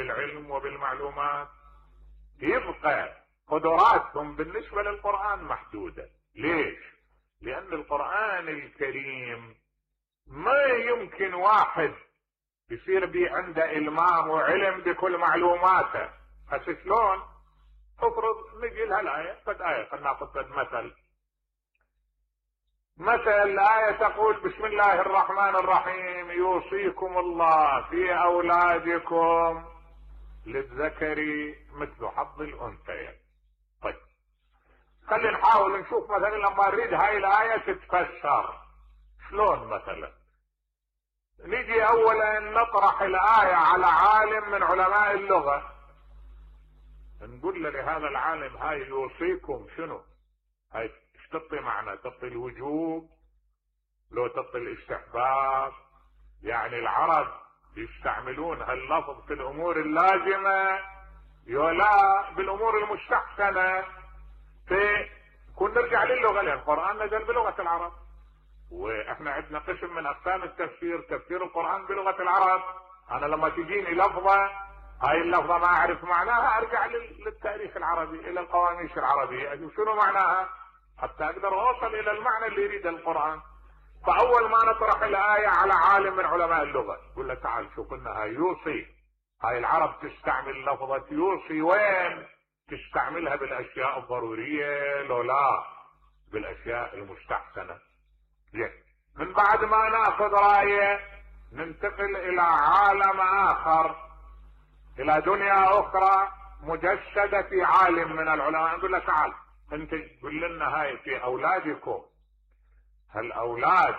بالعلم وبالمعلومات، يبقى قدراتهم بالنسبة للقرآن محدودة. ليش؟ لأن القرآن الكريم ما يمكن واحد يصير بي عنده إلمام وعلم بكل معلوماته. هسه شلون؟ تفرض نجي لها الآية، قد آية قد ناخذ قد مثل الآية تقول: بسم الله الرحمن الرحيم يوصيكم الله في أولادكم للذكر مثل حظ الأنثيين. طيب خلينا نحاول نشوف مثلا لما نريد هاي الآية تتفسر شلون. مثلا نيجي أولا نطرح الآية على عالم من علماء اللغة، نقول له لهذا العالم هاي يوصيكم شنو؟ هاي ايش تعطي معنى؟ تعطي الوجوب لو تعطي الاستحباب؟ يعني العرب يستعملون هاللفظ في الامور اللازمة يولا بالامور المستحسنة؟ كون نرجع للغة، لان القرآن نزل بلغة العرب، واحنا عندنا قسم من اقسام التفسير، تفسير القرآن بلغة العرب. انا لما تجيني لفظة، هاي اللفظة ما اعرف معناها، ارجع للتاريخ العربي، الى القواميس العربية، اشوف شنو معناها حتى اقدر اوصل الى المعنى اللي يريده القرآن. فاول ما نطرح الآية على عالم من علماء اللغة، يقول له تعال شوف لنا هاي يوصي، هاي العرب تستعمل لفظة يوصي وين؟ تستعملها بالاشياء الضرورية لو لا بالاشياء المستحسنة. زين، من بعد ما ناخذ رأيه ننتقل الى عالم اخر، الى دنيا اخرى مجسدة في عالم من العلماء. نقول له تعال انت قل لنا هاي في اولادكم، هالاولاد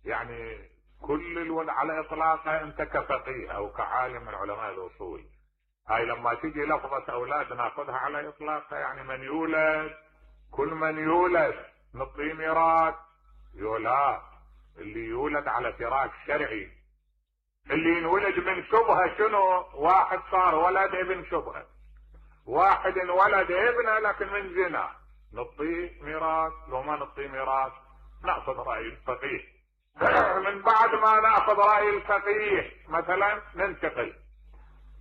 يعني كل الولد على اطلاقها انت كفقيه او كعالم من علماء الاصول، هاي لما تيجي لفظة اولاد ناخذها على اطلاقها، يعني من يولد، كل من يولد نعطيه ميراث؟ يولا، اللي يولد على فراش شرعي، اللي ينولد من شبهة شنو؟ واحد صار ولد ابن شبهة، واحد انولد ابنه لكن من زنا، نعطيه ميراث؟ لو ما نعطيه ميراث ناخذ رأي الفقيه. من بعد ما ناخذ رأي الفقيه مثلا ننتقل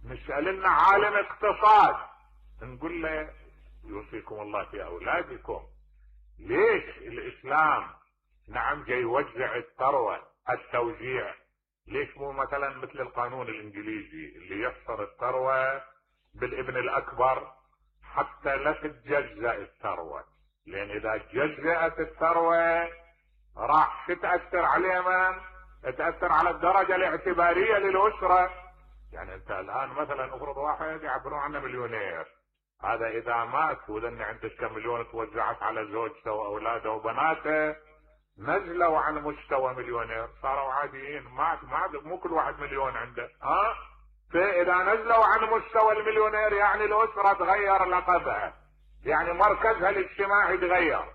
نسأل لنا عالم اقتصاد، نقول له يوصيكم الله في اولادكم. ليش الاسلام نعم جاي يوزع الثروة التوزيع؟ ليش مو مثلا مثل القانون الانجليزي اللي يحصر الثروة بالابن الاكبر حتى لا تتجزأ الثروة؟ لان اذا تجزأت الثروة راح تتأثر عليه من؟ تتأثر على الدرجة الاعتبارية للأسرة. يعني انت الان مثلا افرض واحد يعبرون عنه مليونير، هذا اذا مات واذا عندك كم مليون توزعت على زوجته واولاده وبناته نزلوا عن مستوى مليونير، صاروا عاديين، مو كل واحد مليون عنده. فاذا نزلوا عن مستوى المليونير يعني الاسرة تغير لقبها، يعني مركزها الاجتماعي تغير.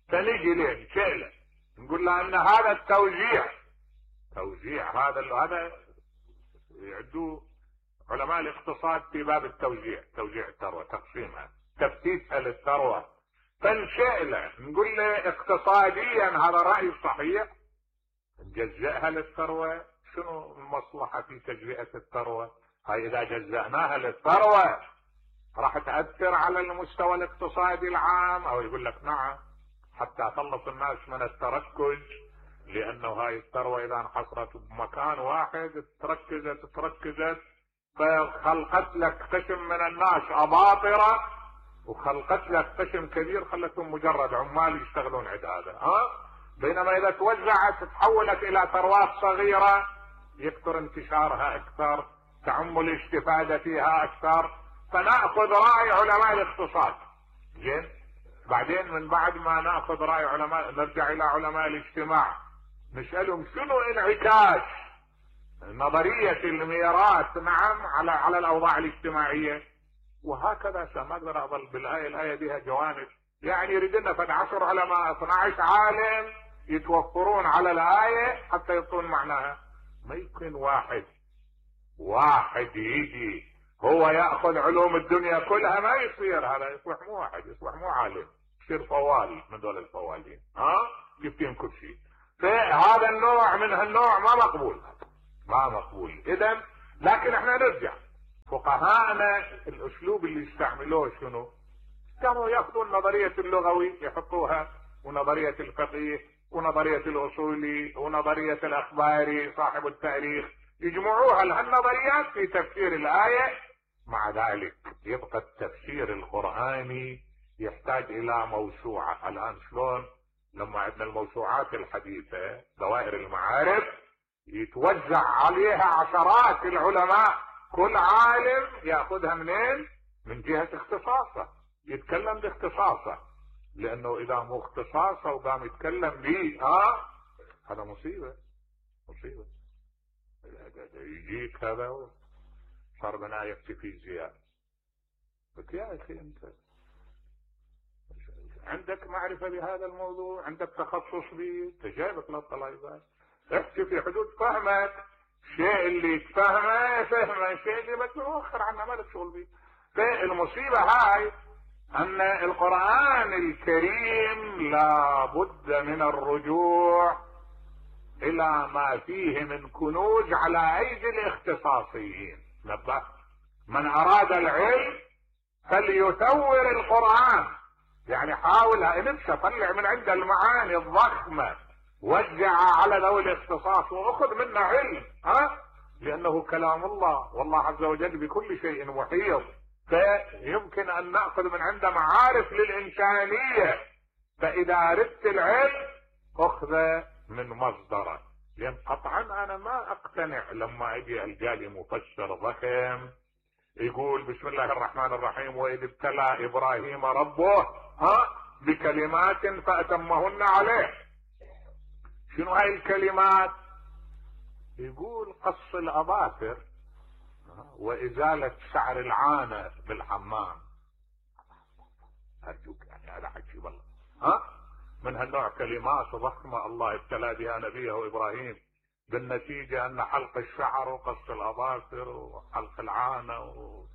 فنيجي ليه نسأله نقول له ان هذا التوزيع، هذا يعدوه علماء الاقتصاد في باب التوزيع، توزيع الثروة، تقسيمها، تفتيتها للثروة. فنسأله نقول له اقتصاديا هذا رأي صحيح؟ نجزئها للثروة؟ شنو المصلحة في تجزئة الثروة؟ هاي اذا جزأناها للثروة راح تأثر على المستوى الاقتصادي العام؟ او يقول لك نعم، حتى خلص الناس من التركز، لانه هاي الثروة اذا انحصرت بمكان واحد تركزت فخلقت لك قسم من الناس اباطرة، وخلقت لك قسم كبير خلتهم مجرد عمال يشتغلون عند هذا. بينما اذا توزعت تحولت الى ثروات صغيرة يكثر انتشارها اكثر، تعم الاستفادة فيها اكثر. فنأخذ رأي علماء الاقتصاد. زين، بعدين من بعد ما نأخذ رأي علماء نرجع الى علماء الاجتماع، نسألهم شنو انعكاس نظرية الميراث نعم على الاوضاع الاجتماعية. وهكذا ما اقدر اظل الآية بها جوانب، يعني يريد لنا فد 10 علماء 12 عالم يتوفرون على الآية حتى يعطون معناها. ما يمكن واحد يجي هو يأخذ علوم الدنيا كلها، ما يصير، هذا يصبح مو واحد، يصبح مو عالم، يصير فوال من دول الفوالين، يفتين كل شيء. فهذا النوع من هالنوع ما مقبول. اذا لكن احنا نرجع فقهاءنا الاسلوب اللي يستعملوه شنو؟ كانوا ياخذون نظرية اللغوي يحطوها، ونظرية الفقيه، ونظرية الاصولي، ونظرية الاخباري صاحب التاريخ، يجمعوها لهالنظريات في تفسير الآية. مع ذلك يبقى التفسير القرآني يحتاج الى موسوعة. الان شلون لما عندنا الموسوعات الحديثة دوائر المعارف يتوزع عليها عشرات العلماء، كل عالم ياخذها منين؟ من جهة اختصاصه، يتكلم باختصاصه، لانه اذا مو اختصاصه وقام يتكلم به هذا مصيبة. يجيك هذا صار بناية في فيزياء، قلت يا اخي انت عندك معرفة بهذا الموضوع، عندك تخصص به، تجايبك للطلبات، احكي في حدود فهمك. الشيء اللي تفهمه فهمه، الشيء اللي ما تؤخر عنه ما لك شغل به. فالمصيبة هاي ان القرآن الكريم لابد من الرجوع الى ما فيه من كنوز على ايدي الاختصاصيين. نبه، من اراد العلم فليثور القرآن، يعني حاولها انبسط، طلع من عند المعاني الضخمة وزعها على ذوي الاختصاص واخذ منه علم، لانه كلام الله، والله عز وجل بكل شيء محيط، فيمكن ان ناخذ من عنده معارف للانسانية. فاذا اردت العلم اخذ من مصدره، لان قطعا انا ما اقتنع لما اجي القالي مفسر ضخم يقول بسم الله الرحمن الرحيم واذ ابتلى ابراهيم ربه بكلمات فاتمهن عليه. شنو هاي الكلمات؟ يقول قص الاظافر وازالة شعر العانة بالحمام. ارجوك يعني هذا حكي والله من هالنوع كلمات ضخمة الله ابتلى بها نبيه ابراهيم، بالنتيجة ان حلق الشعر وقص الاظافر وحلق العانة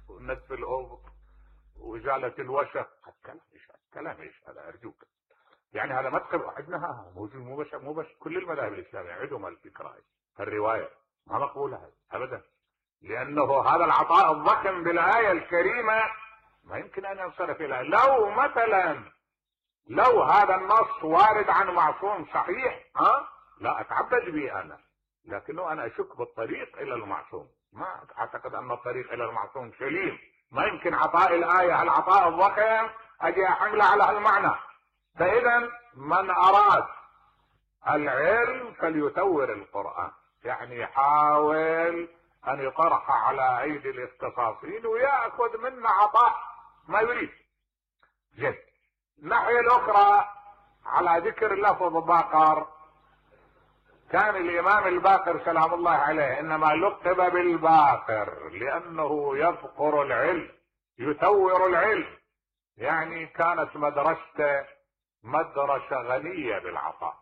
ونتف الابط وازالة الوشق. كلام ايش هذا؟ ارجوك يعني هذا مدخل عندنا مو بس كل المذاهب الاسلامية عندهم الفكرة هاي، الرواية ما مقبولة ابدا، لانه هذا العطاء الضخم بالاية الكريمة ما يمكن ان ينصرف الى. لو مثلا لو هذا النص وارد عن معصوم صحيح لا اتعبد به انا، لكنه انا اشك بالطريق الى المعصوم، ما اعتقد ان الطريق الى المعصوم سليم. ما يمكن عطاء الايه العطاء الضخم اجي احمله على هالمعنى. فاذا من اراد العلم فليثور القرآن، يعني يحاول ان يطرح على ايدي الاختصاصيين ويأخذ منا عطاء ما يريد. جد. الناحية الاخرى على ذكر لفظ باقر، كان الامام الباقر سلام الله عليه انما لقب بالباقر لانه يذكر العلم يثور العلم، يعني كانت مدرسته مدرسة غنية بالعطاء.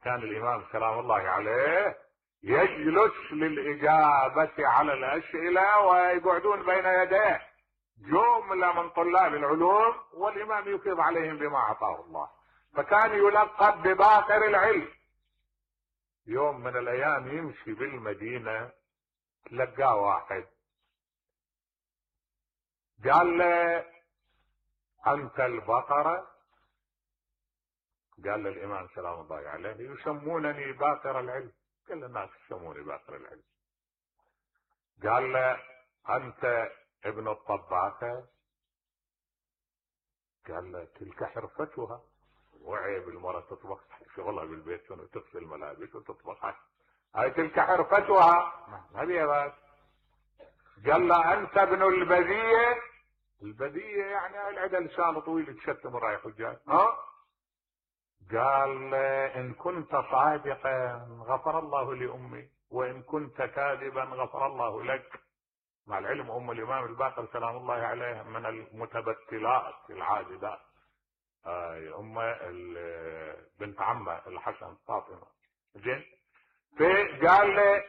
كان الامام سلام الله عليه يجلس للاجابة على الاسئلة ويقعدون بين يديه جملة من طلاب العلوم والامام يفيض عليهم بما اعطاه الله، فكان يلقب بباقر العلم. يوم من الايام يمشي بالمدينة تلقاه واحد قال له انت البقرة؟ قال للامام سلام الله عليه يسمونني باقر العلم. قال الناس يسموني باقر العلم. قال له انت ابن الطباخة؟ قال له تلك حرفتها، وعيب المرأة تطبخ شغلها بالبيت وتغسل ملابس وتطبخ، هاي تلك حرفتها ما بيها بس. قال له انت ابن البذية؟ البذية يعني العدا لسان طويل تشتم رايح وجاي. قال ان كنت صادقا غفر الله لامي وان كنت كاذبا غفر الله لك. مع العلم ام الامام الباقر سلام الله عليه من المتبتلات العاجزات، ام بنت عمه الحسن فاطمه. زين، فقال له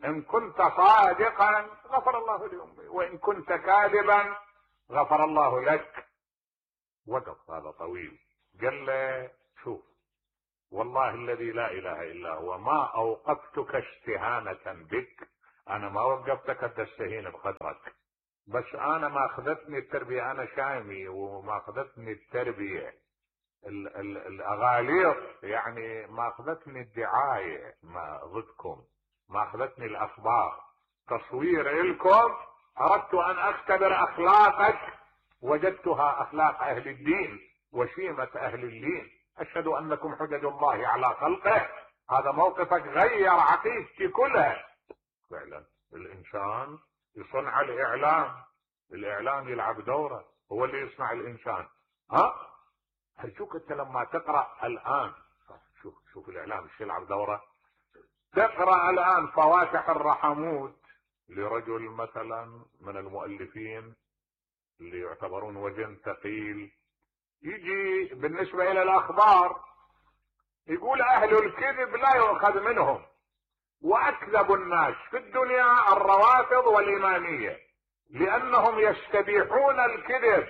ان كنت صادقا غفر الله لامي وان كنت كاذبا غفر الله لك. وقف هذا طويل، قال له شوف والله الذي لا اله الا هو ما اوقفتك استهانة بك انا ما وقفتك تستهين بقدرك، بس انا ما اخذتني التربية، انا شامي وما اخذتني التربية الاغاليط، يعني ما اخذتني الدعاية ما ضدكم، ما اخذتني الاخبار، تصوير الكم، اردت ان اختبر اخلاقك، وجدتها اخلاق اهل الدين وشيمة اهل الدين، اشهد انكم حجج الله على خلقه. هذا موقفك غير عقيدتي كلها. فعلا الانسان يصنع الاعلام يلعب دوره، هو اللي يصنع الانسان. هتشوف انت لما تقرا الان، شوف الاعلام ايش يلعب دوره. تقرا الان فواتح الرحموت لرجل مثلا من المؤلفين اللي يعتبرون وزن ثقيل، يجي بالنسبه الى الاخبار يقول اهل الكذب لا يؤخذ منهم، واكذب الناس في الدنيا الروافض والاماميه، لانهم يستبيحون الكذب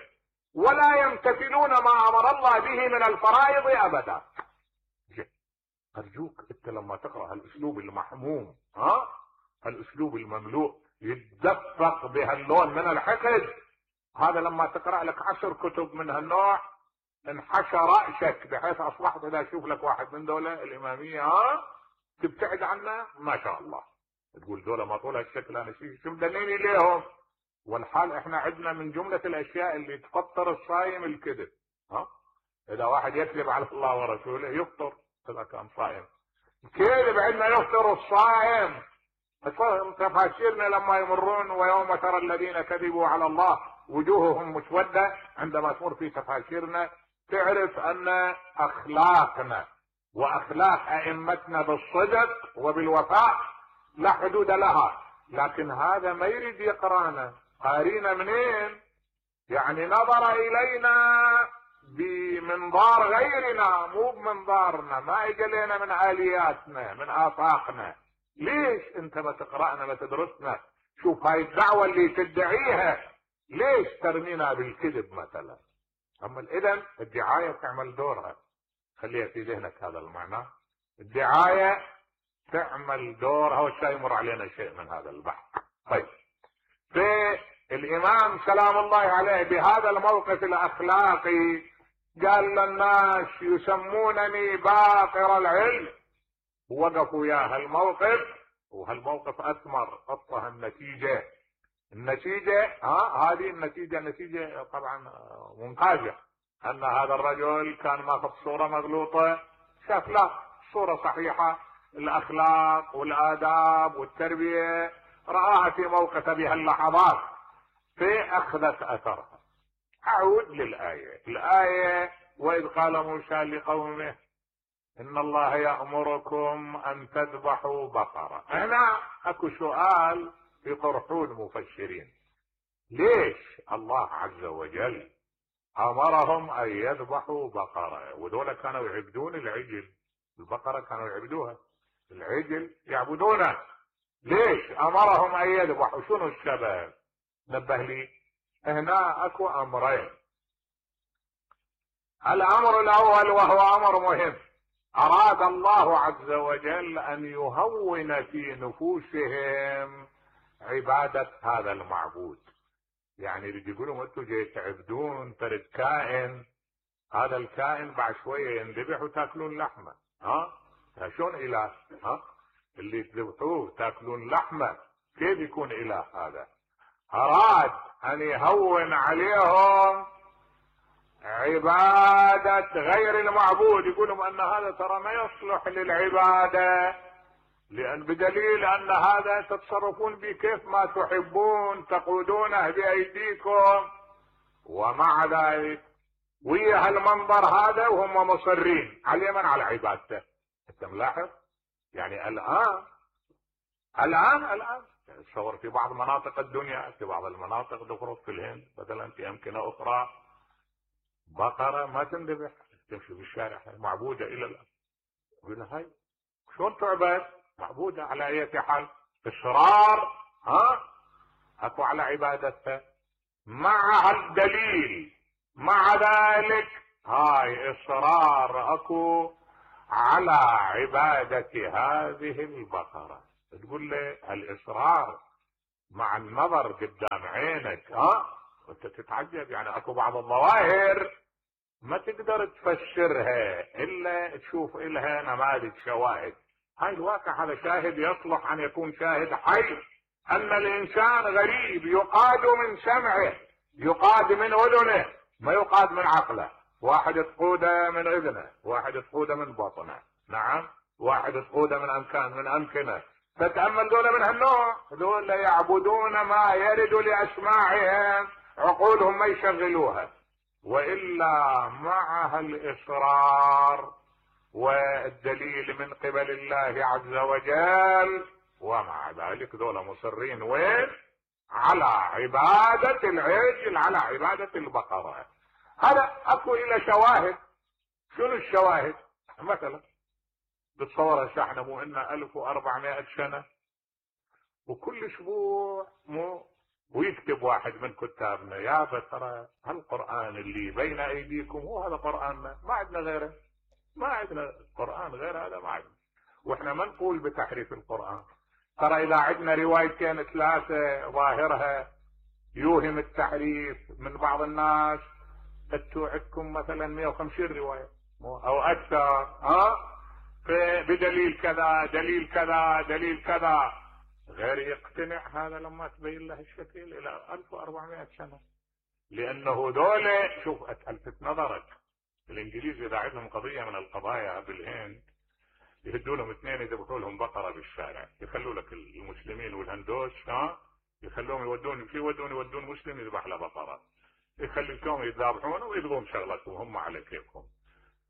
ولا يمتثلون ما امر الله به من الفرائض ابدا. ارجوك انت لما تقرا هالاسلوب المحموم، هالاسلوب المملوء يتدفق بهاللون من الحقد، هذا لما تقرا لك 10 كتب من هالنوع انحشى راسك، بحيث اصبحت اذا اشوف لك واحد من دولة الاماميه تبتعد عنه ما شاء الله، تقول دولة ما طول هالشكل، انا شو مدنيني ليهم؟ والحال احنا عندنا من جملة الاشياء اللي تفطر الصايم الكذب. اذا واحد يكذب على الله ورسوله يفطر اذا كان صائم. الكذب عندنا يفطر الصائم. تفاسيرنا لما يمرون ويوم ترى الذين كذبوا على الله وجوههم مسودة، عندما تمر في تفاسيرنا تعرف ان اخلاقنا واخلاق ائمتنا بالصدق وبالوفاء لا حدود لها، لكن هذا ما يريد يقرانا. قارينا منين؟ يعني نظر الينا بمنظار غيرنا مو بمنظارنا، ما اجى لنا من الياتنا من افاقنا. ليش انت ما تقرانا ما تدرسنا؟ شوف هاي الدعوة اللي تدعيها ليش ترمينا بالكذب مثلا؟ اما اذا الدعاية تعمل دورها، خليها في ذهنك هذا المعنى، الدعاية تعمل دورها، والشيء يمر علينا شيء من هذا البحث. طيب، فالامام سلام الله عليه بهذا الموقف الاخلاقي قال للناس يسمونني باقر العلم، وقفوا يا هالموقف، وهالموقف اثمر اطه النتيجة هذه النتيجة طبعا ممتازة، ان هذا الرجل كان ماخذ صورة مغلوطة، شاف لا صورة صحيحة، الاخلاق والاداب والتربية رآها في موقف بهاللحظات، فاخذت اثرها. اعود الآية واذ قال موسى لقومه ان الله يأمركم ان تذبحوا بقرة. هنا اكو سؤال يطرحون مفسرين، ليش الله عز وجل امرهم ان يذبحوا بقرة؟ وذولا كانوا يعبدون العجل، البقرة كانوا يعبدوها، العجل يعبدونه، ليش امرهم ان يذبحوا؟ شنو السبب؟ نبه لي. هنا اكو امرين. الامر الاول وهو امر مهم، اراد الله عز وجل ان يهون في نفوسهم عبادة هذا المعبود. يعني اللي يقولوا انتم جاي تعبدون ترد كائن، هذا الكائن بعد شوية ينذبح وتاكلون لحمه، شلون اله؟ اللي تذبحوه تاكلون لحمه، كيف يكون اله هذا؟ اراد ان يهون عليهم عبادة غير المعبود، يقولون ان هذا ترى ما يصلح للعبادة، لان بدليل ان هذا تتصرفون به كيف ما تحبون، تقودونه بايديكم، ومع ذلك ويا هالمنظر هذا وهم مصرين على من على عبادته. انت ملاحظ؟ يعني الان تصور في بعض مناطق الدنيا، في بعض المناطق تفرض في الهند مثلا، في امكنه اخرى بقره ما تنذبح، تمشي في الشارع معبوده الى الان، يقول هاي شلون تعبد؟ معبوده على اي حال، اصرار اكو على عبادتها مع الدليل، مع ذلك هاي اصرار اكو على عبادة هذه البقرة. تقول له هالاصرار مع النظر قدام عينك وانت تتعجب. يعني اكو بعض الظواهر ما تقدر تفسرها الا تشوف الها نماذج شواهد. هاي الواقع هذا شاهد يصلح ان يكون شاهد حي، ان الانسان غريب يقاد من سمعه، يقاد من اذنه، ما يقاد من عقله. واحد تقوده من اذنه، واحد تقوده من بطنه، نعم، واحد تقوده من امكنه. فتأمل دول من هالنوع، دول يعبدون ما يرد لاسماعهم، عقولهم ما يشغلوها. والا مع الاصرار والدليل من قبل الله عز وجل، ومع ذلك دول مصرين وين؟ على عبادة العجل، على عبادة البقرة. هذا اكو الى شواهد. شنو الشواهد؟ مثلا بتصور هسه احنا مو ان 1400 سنة وكل اسبوع ويكتب واحد من كتابنا يا ترى هالقرآن اللي بين ايديكم هو هذا قرآننا، ما عندنا غيره، ما عندنا قرآن غير هذا، ما عندنا. واحنا ما نقول بتحريف القرآن. ترى اذا عندنا روايتين ثلاثة ظاهرها يوهم التحريف من بعض الناس، انتوا عندكم مثلا 150 رواية او اكثر، بدليل كذا دليل كذا دليل كذا، غير يقتنع هذا لما تبين له الشكل الى 1400 سنة. لانه دولة، شوف الفت نظرك، الانجليز اذا عندهم قضية من القضايا بالهند يهدوا لهم اثنين يذبحوا لهم بقرة بالشارع، يخلوا لك المسلمين والهندوس يخلوهم يودون مسلم يذبح له بقرة، يخليكم يذبحون ويبغون شغلتهم هم على كيفهم.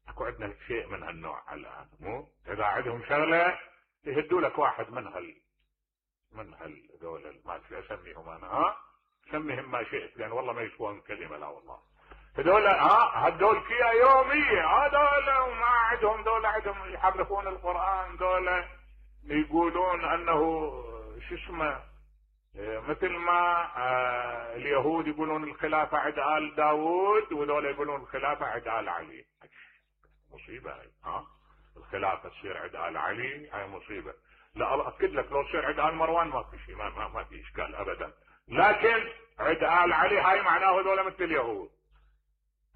اكو عندنا شيء من هالنوع الان، مو اذا عندهم شغلة يهدوا لك واحد من هالدول ما اسميهم انا، سميهم ما شئت لان والله ما يسوون كلمة، لا والله. هذول هدول فيها يومية، هذول وما عندهم، دول عندهم يحرفون القرآن، دول يقولون انه شو اسمه مثل ما اليهود يقولون الخلافة عند آل داود، وذول يقولون الخلافة عند آل علي. مصيبة هاي، الخلافة تصير عند آل علي، هاي مصيبة. لا اكد لك لو تصير عند آل مروان ما في شيء، ما في اشكال ابدا، لكن عند آل علي هاي معناه هذول مثل اليهود.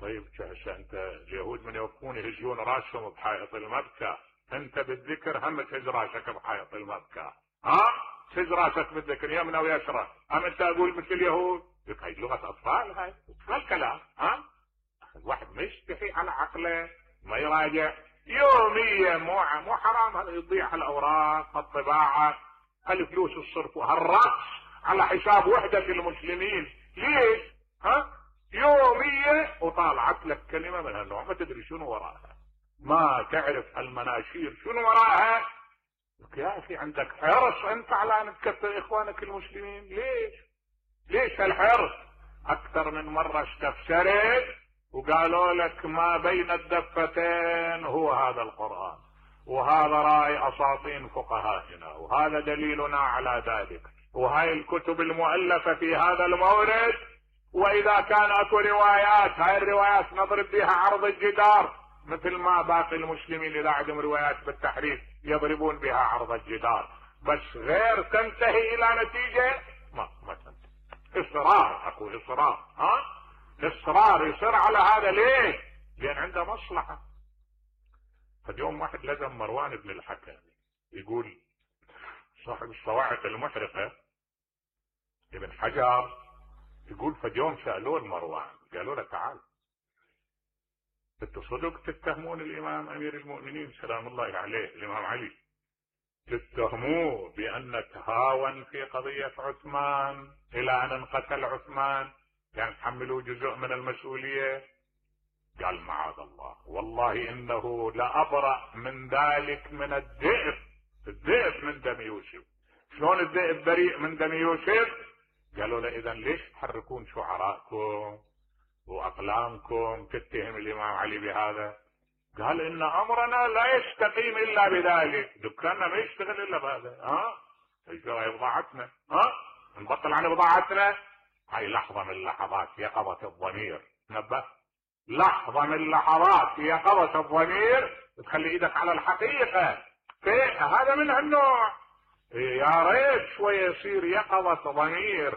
طيب هسه انت اليهود من يوقفون يهزون راسهم بحائط المبكى، انت بالذكر هم تهز راسك بحائط المبكى، تهز راسك بالذكر يمنى ويسرى، ام انت اقول مثل اليهود؟ هاي لغة اطفال، هاي الكلام. الواحد ما يستحي على عقله، ما يراجع يوميا. مو حرام هذا يضيع الاوراق، الطباعة، الفلوس، الصرف وهالرأس على حساب وحدة المسلمين. ليش؟ يومية وطالعت لك كلمة من هالنوع ما تدري شنو وراها، ما تعرف المناشير شنو وراها. يا اخي عندك حرص انت على ان تكفر اخوانك المسلمين، ليش هالحرص؟ اكثر من مرة استفسرت وقالوا لك ما بين الدفتين هو هذا القرآن، وهذا رأي اساطين فقهائنا، وهذا دليلنا على ذلك، وهاي الكتب المؤلفة في هذا المورد. واذا كان اكو روايات، هاي الروايات نضرب بها عرض الجدار، مثل ما باقي المسلمين اذا عندهم روايات بالتحريف يضربون بها عرض الجدار، بس غير تنتهي الى نتيجة ما تنتهي. اصرار، اكو اصرار، اصرار يصر على هذا. ليه؟ لان عنده مصلحة. فاليوم واحد لزم مروان بن الحكم يقول صاحب الصواعق المحرقة ابن حجر، يقول فاليوم سألوه المروان قالوا له تعال انتوا صدق تتهمون الامام امير المؤمنين سلام الله عليه الامام علي، تتهموه بان تهاون في قضية عثمان الى ان انقتل عثمان، يعني تحملوا جزء من المسؤولية؟ قال معاذ الله، والله انه لأبرأ من ذلك من الذئب من دم يوسف. شلون الذئب بريء من دم يوسف؟ قالوا له اذا ليش تحركون شعراءكم واقلامكم تتهم الامام علي بهذا؟ قال ان امرنا لا يستقيم الا بذلك، دكاننا ما يشتغل الا بهذا. هاي بضاعتنا، نبطل عن بضاعتنا. هاي لحظة من لحظات يقظة الضمير، نبه، لحظة من لحظات يقظة الضمير تخلي ايدك على الحقيقة. هذا من هالنوع يا ريت شوية يصير يقظة ضمير،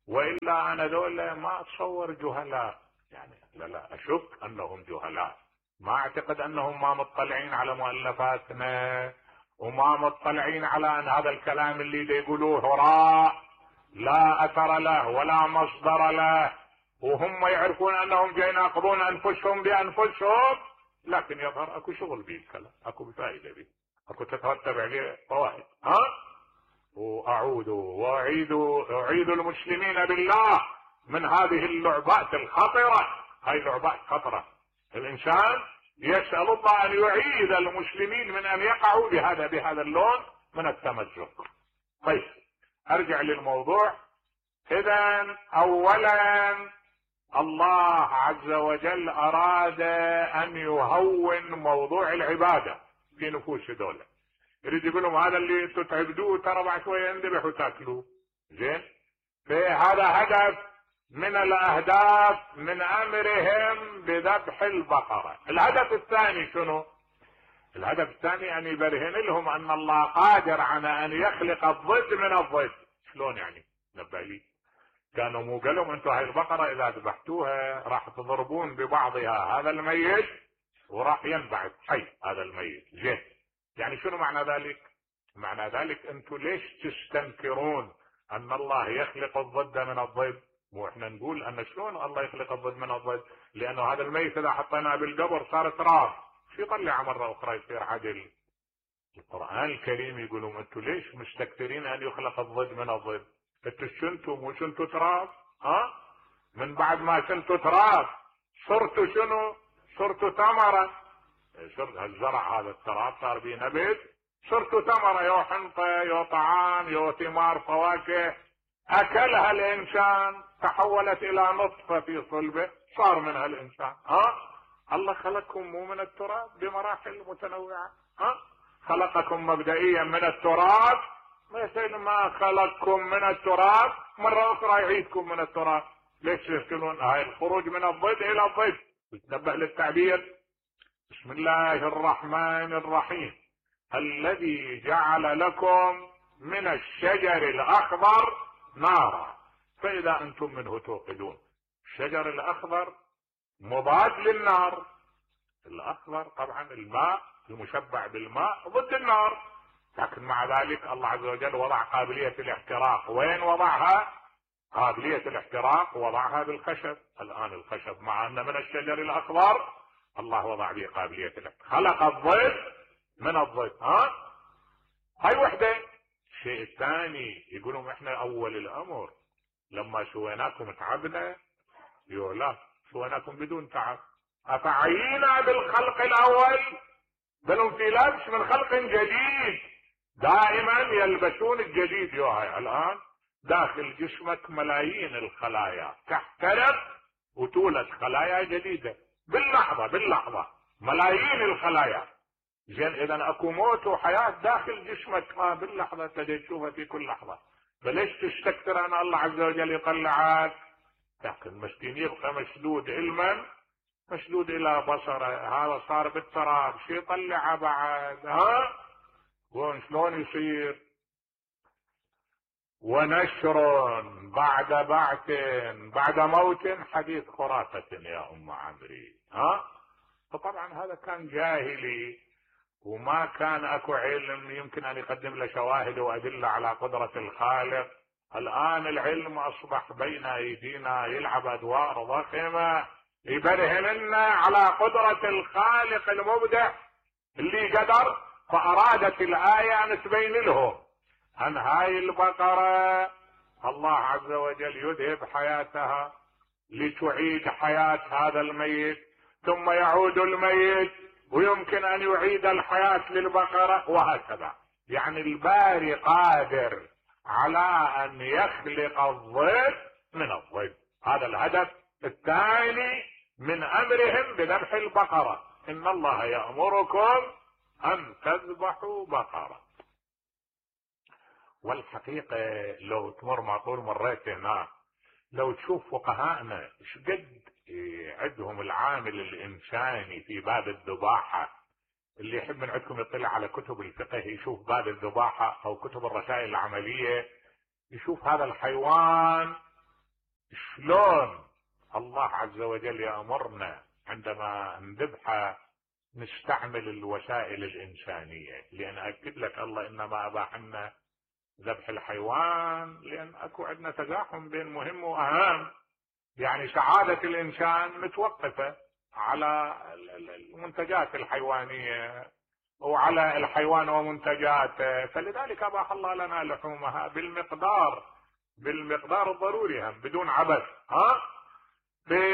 وإلا أنا ذولا ما أتصور جهلاء، يعني لا أشك أنهم جهلاء، ما أعتقد أنهم ما مطلعين على مؤلفاتنا وما مطلعين على أن هذا الكلام اللي يقولوه هراء لا أثر له ولا مصدر له، وهم يعرفون أنهم جايين يناقضون أنفسهم بأنفسهم، لكن يظهر أكو شغل به الكلام، أكو فائدة به، أكو تترتب عليه فوائد. وأعود وأعيد المسلمين بالله من هذه اللعبات الخطرة. هاي لعبات خطرة، الإنسان يسأل الله أن يعيد المسلمين من أن يقعوا بهذا اللون من التمزق. طيب أرجع للموضوع. إذن أولا الله عز وجل أراد أن يهون موضوع العبادة في نفوس دولة، يريد يقول لهم هذا اللي انتم تعبدوه ترى بعد شويه يندبح وتاكلوه. زين، فهذا هدف من الاهداف من امرهم بذبح البقره. الهدف الثاني شنو؟ الهدف الثاني ان يبرهن لهم ان الله قادر على ان يخلق الضد من الضد. شلون يعني؟ نبه لي. كانوا مو قالوا انتم هاي البقره اذا ذبحتوها راح تضربون ببعضها هذا الميت وراح ينبعث حي هذا الميت. زين، يعني شنو معنى ذلك؟ معنى ذلك انتم ليش تستنكرون ان الله يخلق الضد من الضد؟ مو احنا نقول ان شلون الله يخلق الضد من الضد؟ لانه هذا الميت اذا حطيناه بالقبر صار تراب، شو يطلع مره اخرى يصير عدل. القرآن الكريم يقولون انتم ليش مستكثرين ان يخلق الضد من الضد؟ انتم شنتم وشنتوا تراب؟ من بعد ما كنتوا تراب صرتوا شنو؟ صرتوا ثمرة. صرت الزرع هذا التراب صار به نبت، صرتوا ثمرة، يو حنطة يو طعام يو ثمار فواكه اكلها الانسان تحولت الى نطفة في صلبه صار منها الانسان. الله خلقكم مو من التراب بمراحل متنوعة، خلقكم مبدئيا من التراب، مثل ما خلقكم من التراب مرة اخرى يعيدكم من التراب. ليش تشكلون هاي الخروج من الضد الى الضد؟ تنبه للتعبير. بسم الله الرحمن الرحيم. الذي جعل لكم من الشجر الاخضر نارا فاذا انتم منه توقدون. الشجر الاخضر مضاد للنار، الاخضر طبعا الماء المشبع بالماء ضد النار، لكن مع ذلك الله عز وجل وضع قابلية الاحتراق. وين وضعها؟ قابلية الاحتراق وضعها بالخشب. الان الخشب مع ان من الشجر الاخضر الله وضع به قابلية الاحتراق، خلق الضد من الضد. هاي وحدة. الشيء الثاني يقولون احنا اول الامر لما سويناكم تعبنا، لا سويناكم بدون تعب، افعينا بالخلق الاول بل هم في لبس من خلق جديد. دائما يلبسون الجديد. هاي الان داخل جسمك ملايين الخلايا تحترق وتولد خلايا جديدة باللحظة ملايين الخلايا. زين، اذا اكو موت وحياة داخل جسمك باللحظة تجي تشوفها في كل لحظة. فليش تستكثر ان الله عز وجل يطلعك؟ لكن مسكين يبقى مشدود علما مشدود الى بصره. هذا صار بالتراب شي يطلع بعد؟ شلون يصير؟ ونشر بعد بعث بعد موت حديث خرافة يا ام عمري. فطبعا هذا كان جاهلي وما كان اكو علم يمكن ان يقدم له شواهد وادله على قدرة الخالق. الان العلم اصبح بين ايدينا يلعب ادوار ضخمة يبرهن لنا على قدرة الخالق المبدع اللي قدر. فارادت الاية ان تبين لهم ان هاي البقرة الله عز وجل يذهب حياتها لتعيد حياة هذا الميت، ثم يعود الميت ويمكن ان يعيد الحياة للبقرة وهكذا. يعني الباري قادر على ان يخلق الضد من الضد. هذا الهدف الثاني من امرهم بذبح البقرة. ان الله يأمركم ان تذبحوا بقرة. والحقيقة لو تمر معقول مريت هنا لو تشوف فقهاءنا شقد عندهم العامل الانساني في باب الذباحة. اللي يحب من عندكم يطلع على كتب الفقه يشوف باب الذباحة او كتب الرسائل العملية، يشوف هذا الحيوان شلون الله عز وجل يأمرنا عندما نذبحه نستعمل الوسائل الإنسانية. لأن أكد لك الله إنما أباح لنا ذبح الحيوان لأن أكو عندنا تزاحم بين مهم وأهم. يعني سعادة الإنسان متوقفة على المنتجات الحيوانية وعلى الحيوان ومنتجاته، فلذلك أباح الله لنا لحومها بالمقدار الضروري هم بدون عبث.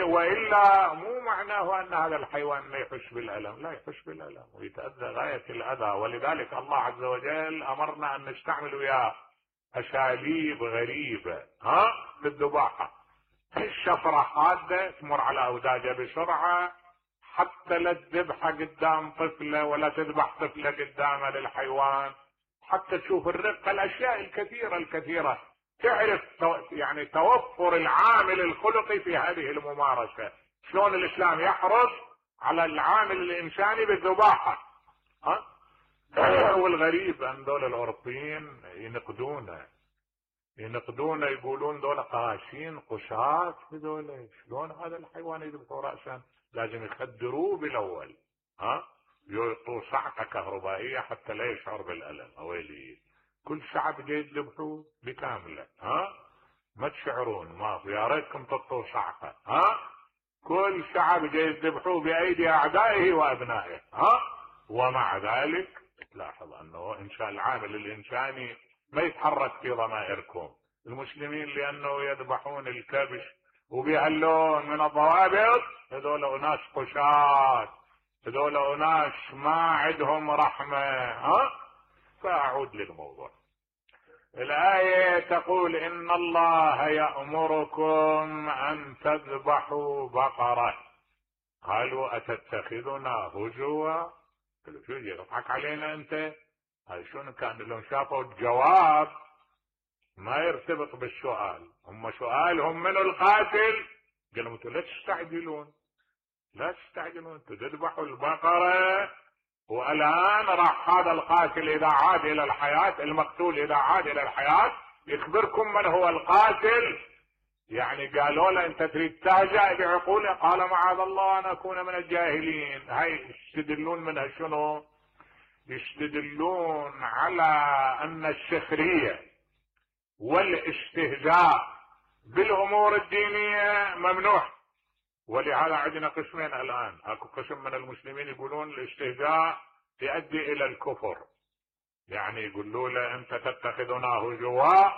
وإلا مو معناه أن هذا الحيوان ما يحس بالألم، لا يحس بالألم ويتأذى غاية الأذى. ولذلك الله عز وجل أمرنا أن نستعمل وياه أساليب غريبة في الذباحة. الشفرة حادة تمر على أوداجه بسرعة، حتى لا تذبحه قدام طفلة ولا تذبح طفلة قدامه للحيوان، حتى تشوف الرقة، الأشياء الكثيرة تعرف يعني توفر العامل الخلقي في هذه الممارسة. شلون الإسلام يحرص على العامل الإنساني بالذباحة. والغريب أن دول الأوروبيين ينقدونه يقولون دول قاسين قساة هذول، شلون هذا الحيوان يذبحوا رأسا لازم يخدروه بالأول، يعطوا صعقة كهربائية حتى لا يشعر بالألم. أويلي كل شعب جاي يذبحوه بكامله، ما تشعرون، ما يا ريتكم تعطوا صعقة. كل شعب جاي يذبحوه بأيدي أعدائه وأبنائه. ومع ذلك تلاحظ أنه إنشاء العامل الإنساني ما يتحرك في ضمائركم. المسلمين لأنه يذبحون الكبش وبهاللون من الضوابط، هذول أناس قشاة، هذول أناس ما عندهم رحمة. فأعود للموضوع. الآية تقول إن الله يأمركم أن تذبحوا بقرة. قالوا أتتخذنا هزوا؟ قالوا شو يضحك علينا أنت؟ هاي شنو كان لهم شافوا الجواب ما يرتبط بالسؤال، هم سؤالهم من القاتل، قالوا انتوا لا تستعجلون انتوا تذبحوا البقرة، والآن راح هذا القاتل إذا عاد إلى الحياة، المقتول إذا عاد إلى الحياة يخبركم من هو القاتل. يعني قالوا له أنت تريد تهزأ بعقوله؟ قال معاذ الله أن أكون من الجاهلين. هاي يستدلون منها شنو؟ يستدلون على أن السخرية والاستهزاء بالأمور الدينية ممنوع. ولهذا عندنا قسمين الآن، اكو قسم من المسلمين يقولون الاستهزاء يؤدي إلى الكفر، يعني يقولوا له أنت تتخذنا هزوا،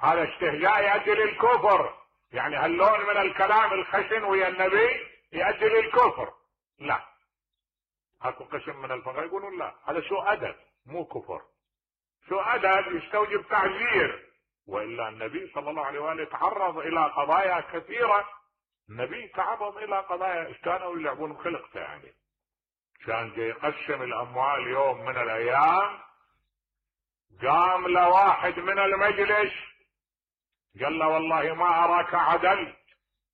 هذا استهزاء يؤدي للكفر، يعني هاللون من الكلام الخشن ويا النبي يؤدي للكفر. لا، اكو قسم من الفقهاء يقولون لا، هذا سوء أدب مو كفر، سوء أدب يستوجب تعزير. وإلا النبي صلى الله عليه وآله تعرض إلى قضايا كثيرة، النبي تعرض إلى قضايا كانوا يلعبون بخلقته، يعني كان جاي يقسم الأموال يوم من الأيام، قام لواحد من المجلس قال له والله ما أراك عدلت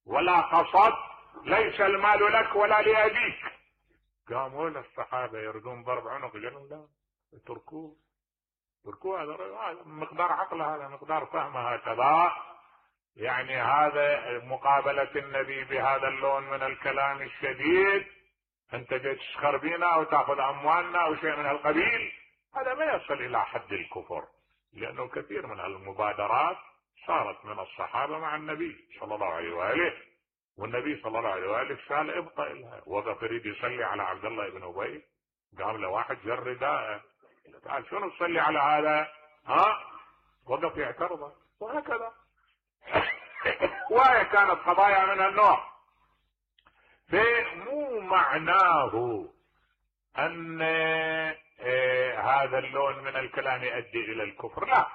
ولا قصدت، ليس المال لك ولا لأبيك. قاموا الصحابة يردون ضرب عنق، قالوا لا اتركوه هذا مقدار عقله، هذا مقدار فهمه هكذا. يعني هذا مقابلة النبي بهذا اللون من الكلام الشديد، انت جاي تسخر بينا او تاخذ اموالنا او شيء من هالقبيل، هذا ما يصل الى حد الكفر، لانه كثير من المبادرات صارت من الصحابة مع النبي صلى الله عليه وآله، والنبي صلى الله عليه وآله قال ابقى لها. وقف يريد يصلي على عبد الله بن أبي، قام له واحد جر رداءه، تعال شنو تصلي على هذا؟ وقف يعترضه، وهكذا. وهي كانت قضايا من النوع. فمو معناه ان هذا اللون من الكلام يؤدي الى الكفر، لا،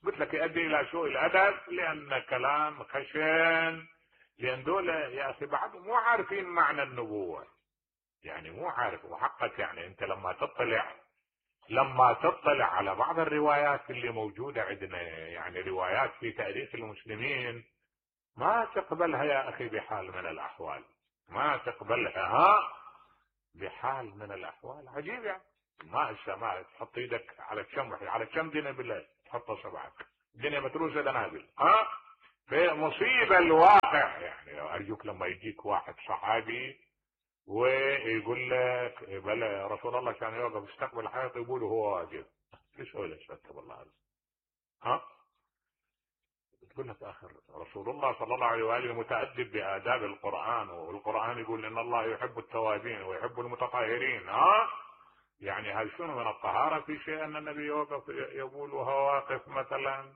قلت لك يؤدي الى سوء الادب، لان كلام خشن، لان دول يا اخي بعض مو عارفين معنى النبوة، يعني مو عارف. وحقك يعني انت لما تطلع على بعض الروايات اللي موجودة عندنا، يعني روايات في تاريخ المسلمين، ما تقبلها يا اخي بحال من الاحوال، ما تقبلها. بحال من الاحوال عجيب يعني. ما تحط ايدك على كم دنيا بالله تحط صبعك، الدنيا متروسه دنابل. في مصيبه الواقع يعني. ارجوك لما يجيك واحد صحابي ويقول لك بلا رسول الله كان يوقف يستقبل الحائط يقول هو واقف، ايش هو اللي استغفر الله هذا؟ تقول لك اخر رسول الله صلى الله عليه واله متأدب بآداب القرآن، والقرآن يقول ان الله يحب التوابين ويحب المتطهرين. يعني هل شنو من الطهارة في شيء ان النبي يوقف يقول وهو واقف مثلا؟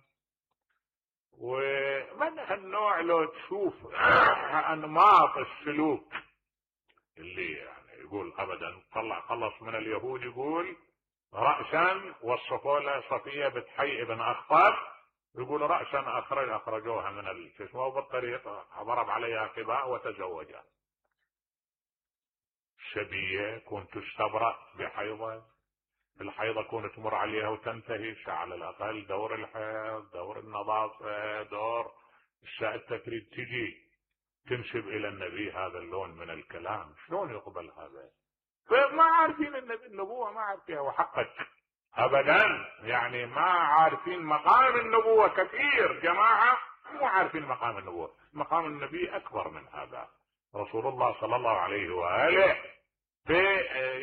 ومن هالنوع لو تشوف انماط السلوك اللي يعني يقول ابدا خلص من اليهود يقول رأسا وصفوا له صفية بتحيي بن اخطب يقول رأسا اخرجوها من الجسم وبالطريق ضرب عليها قباء وتزوجها. شبية كنت تستبرأ بحيضة، الحيضة كنت تمر عليها وتنتهي على الاقل دور الحيض، دور النظافة، دور الساعة تريد تجي تنسب الى النبي هذا اللون من الكلام، شلون يقبل هذا؟ فما عارفين النبوة، ما عارفينها وحقك ابدا يعني. ما عارفين مقام النبوة. كثير جماعة مو عارفين مقام النبوة. مقام النبي اكبر من هذا. رسول الله صلى الله عليه وآله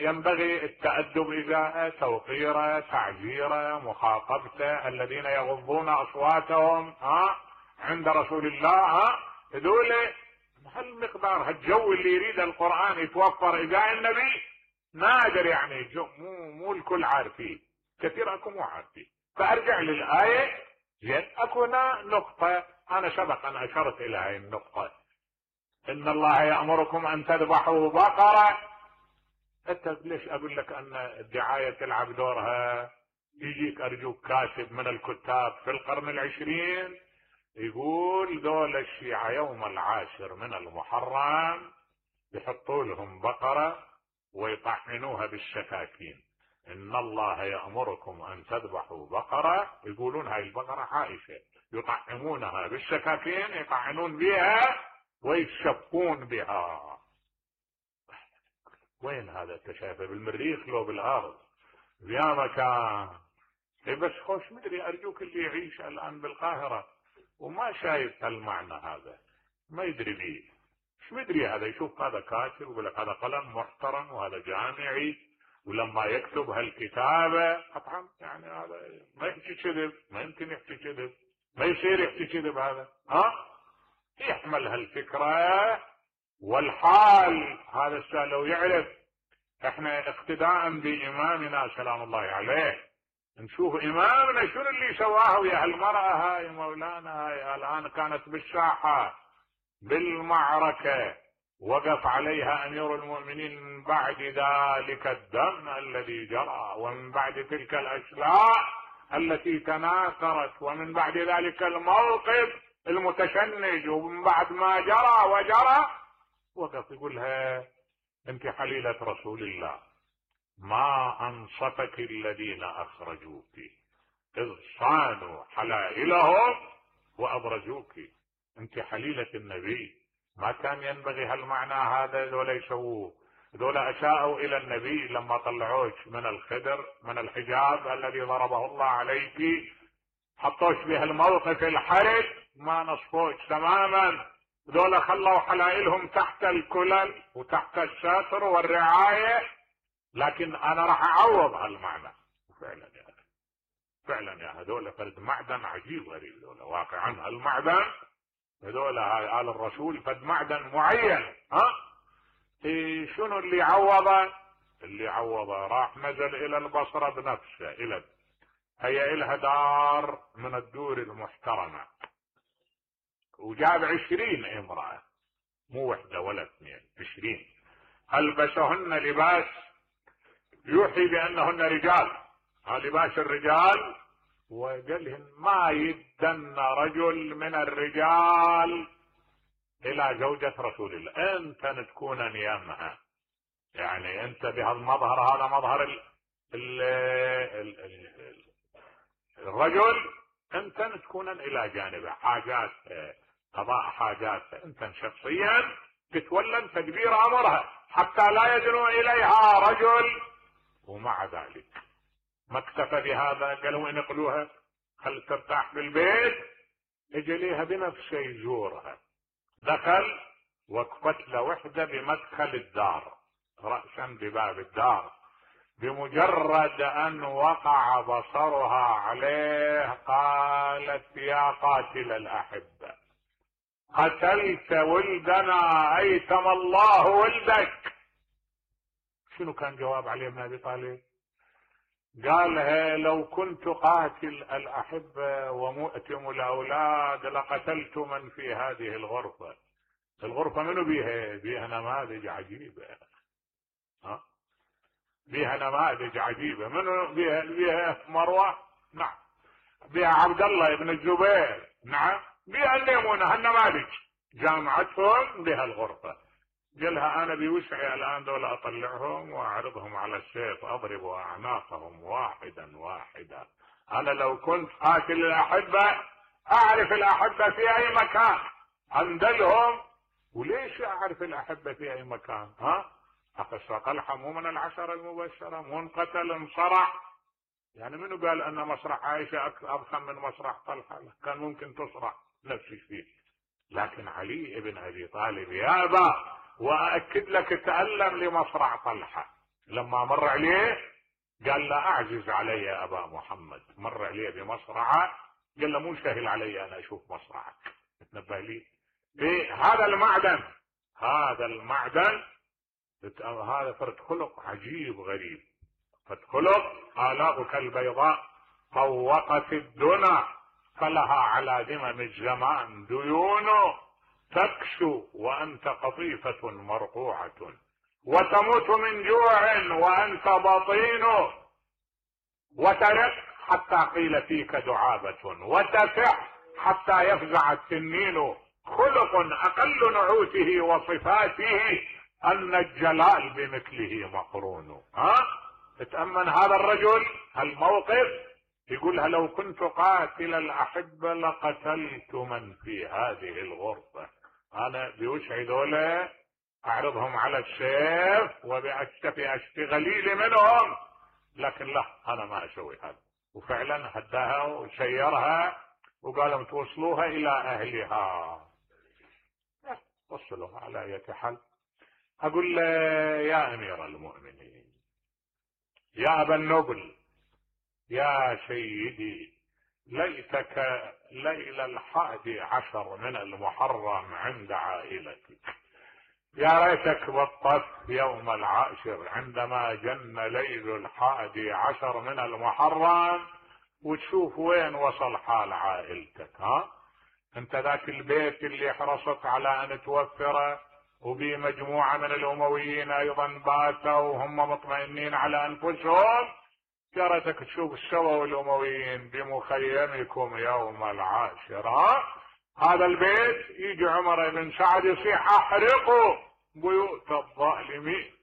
ينبغي التأدب إذا توقيره، تعجيره، مخاطبته. الذين يغضون أصواتهم عند رسول الله هذول هالمقدار هالجو اللي يريد القرآن يتوفر إذا النبي نادر يعني. مو الكل عارفين، كثير اكو مو عارفين. فارجع للآية زين. اكو هنا نقطة انا سبق ان اشرت الى هاي النقطة، ان الله يأمركم ان تذبحوا بقرة. انت ليش اقول لك ان الدعاية تلعب دورها؟ يجيك ارجوك كاتب من الكتاب في القرن العشرين يقول دول الشيعة يوم العاشر من المحرم يحطوا لهم بقرة ويطحنوها بالسكاكين. ان الله يأمركم ان تذبحوا بقرة، يقولون هاي البقرة عائشة، يطعمونها بالسكاكين، يطعنون بها ويتشفون بها. وين هذا؟ انت شايفه بالمريخ لو بالارض يا مكان. بس خوش مدري ارجوك اللي يعيش الان بالقاهرة وما شايف هالمعنى هذا ما يدري بيه. مش مدري هذا يشوف هذا كاتب يقول لك هذا قلم محترم وهذا جامعي، ولما يكتب هالكتابة طبعا يعني هذا ما يحكي كذب، ما يمكن يحكي كذب، ما يصير يحكي كذب هذا. يحمل هالفكرة والحال. هذا السؤال لو يعرف احنا اقتداء بامامنا سلام الله عليه نشوف امامنا شنو اللي سواه ويا هالمرأة هاي مولانا. هاي الان كانت بالساحة بالمعركة وقف عليها امير المؤمنين من بعد ذلك الدم الذي جرى ومن بعد تلك الاشلاء التي تناثرت ومن بعد ذلك الموقف المتشنج ومن بعد ما جرى وجرى وقف يقولها انت حليلة رسول الله، ما انصفك الذين اخرجوك اذ صانوا حلائلهم وابرزوك. انت حليلة النبي، ما كان ينبغي هالمعنى هذا ذولا يسووه. ذولا اساءوا الى النبي لما طلعوش من الخدر من الحجاب الذي ضربه الله عليك، حطوش بهالموقف الحرج، ما نصفوش تماما. ذولا خلوا حلائلهم تحت الكلل وتحت الستر والرعاية. لكن انا راح اعوض هالمعنى. فعلا يا اخي، فعلا يا هذول فرد معدن عجيب غريب. ذولا واقعا هالمعدن هذول آل الرسول فد معدن معين. شنو اللي عوضه؟ اللي عوضه راح نزل الى البصرة بنفسه. هي إلها دار من الدور المحترمة وجاب 20 امرأة، مو وحدة ولا اثنين، 20. ألبسهن لباس يوحي بأنهن رجال، لباس الرجال، وقالهن ما يدن رجل من الرجال إلى زوجة رسول الله. انت تكون نيامها، يعني انت بهالمظهر هذا مظهر الرجل، انت تكون الى جانبه حاجات قضاء حاجات انت شخصيا تتولى تدبير امرها حتى لا يدنو اليها رجل. ومع ذلك ما اكتفى بهذا، قالوا انقلوها خل ترتاح في البيت. اجى ليها بنفسه يزورها، دخل وقفت له وحده بمدخل الدار رأسا بباب الدار. بمجرد ان وقع بصرها عليه قالت يا قاتل الاحبه قتلت ولدنا ايتم الله ولدك. شنو كان جواب علي بن ابي طالب؟ قالها لو كنت قاتل الاحبه ومؤتم الاولاد لقتلت من في هذه الغرفه. الغرفه منو بيها؟ بيها نماذج عجيبه، بيها نماذج عجيبه. منو بيها؟ بيها مروه، نعم. بيها عبد الله بن الزبير، نعم. بيها الميمونه، هالنماذج جامعتهم بها الغرفه. قالها انا بوسعي الان دول اطلعهم واعرضهم على السيف اضرب اعناقهم واحدا واحدا. انا لو كنت قاتل الاحبه اعرف الاحبه في اي مكان اندلهم. وليش اعرف الاحبه في اي مكان؟ اخشى طلحه مو من العشره المبشره، مو انقتل انصرع. يعني منو قال ان مصرع عائشه اضخم من مصرع طلحه؟ كان ممكن تصرع نفس الشيء. لكن علي بن ابي طالب يابى، واكد لك تألم لمصرع طلحه. لما مر عليه قال لا اعجز علي يا ابا محمد، مر عليه بمصرعه قال له مو سهل علي انا اشوف مصرعك. تنبه لي هذا المعدن، هذا المعدن، هذا فرد خلق عجيب غريب. فرد خلق آلاؤك البيضاء طوقت الدنا فلها على دمم الزمان ديون تكشو وانت قطيفة مرقوعة وتموت من جوع وانت بطين وترق حتى قيل فيك دعابة وتفح حتى يفزع التنين. خلق اقل نعوته وصفاته ان الجلال بمثله مقرون. اتأمن هذا الرجل الموقف، يقولها لو كنت قاتل الاحبة لقتلت من في هذه الغرفة. انا بوسعي دولة اعرضهم على السيف وبأكتفي اشتغلي منهم، لكن لا انا ما اسوي هذا. وفعلا هداها وسيرها وقالوا توصلوها الى اهلها. وصلوها على اية حال. اقول له يا امير المؤمنين، يا ابا النبل، يا سيدي، ليتك ليل 11 من المحرم عند عائلتك. يا ريتك بالطف يوم العاشر عندما جن ليل 11 من المحرم وتشوف وين وصل حال عائلتك. انت ذاك البيت اللي حرصت على ان توفره وبي مجموعة من الامويين ايضا باتوا وهم مطمئنين على انفسهم، يا ريتك تشوف السوا والامويين بمخيمكم يوم العاشر. هذا البيت يجي عمر بن سعد يصيح احرقوا بيوت الظالمين،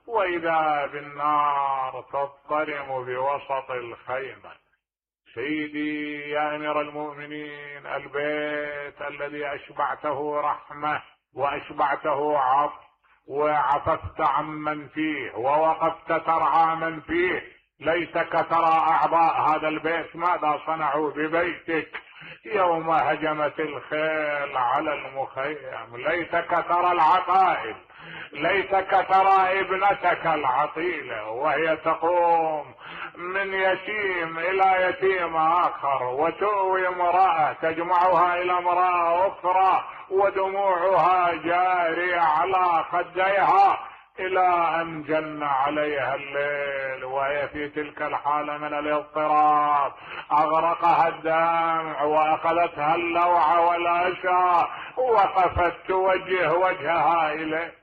واذا بالنار تضطرم بوسط الخيمة. سيدي يا امير المؤمنين، البيت الذي اشبعته رحمة واشبعته عطف وعففت عمن فيه ووقفت ترعى من فيه، ليتك ترى اعضاء هذا البيت ماذا صنعوا ببيتك يوم هجمت الخيل على المخيم. ليتك ترى العقائد، ليتك ترى ابنتك العطيلة وهي تقوم من يتيم الى يتيم اخر وتؤوي امرأة تجمعها الى امرأة اخرى ودموعها جارية على خديها الى ان جن عليها الليل وهي في تلك الحالة من الاضطراب اغرقها الدمع واخذتها اللوعة والاشى، وقفت توجه وجهها اليه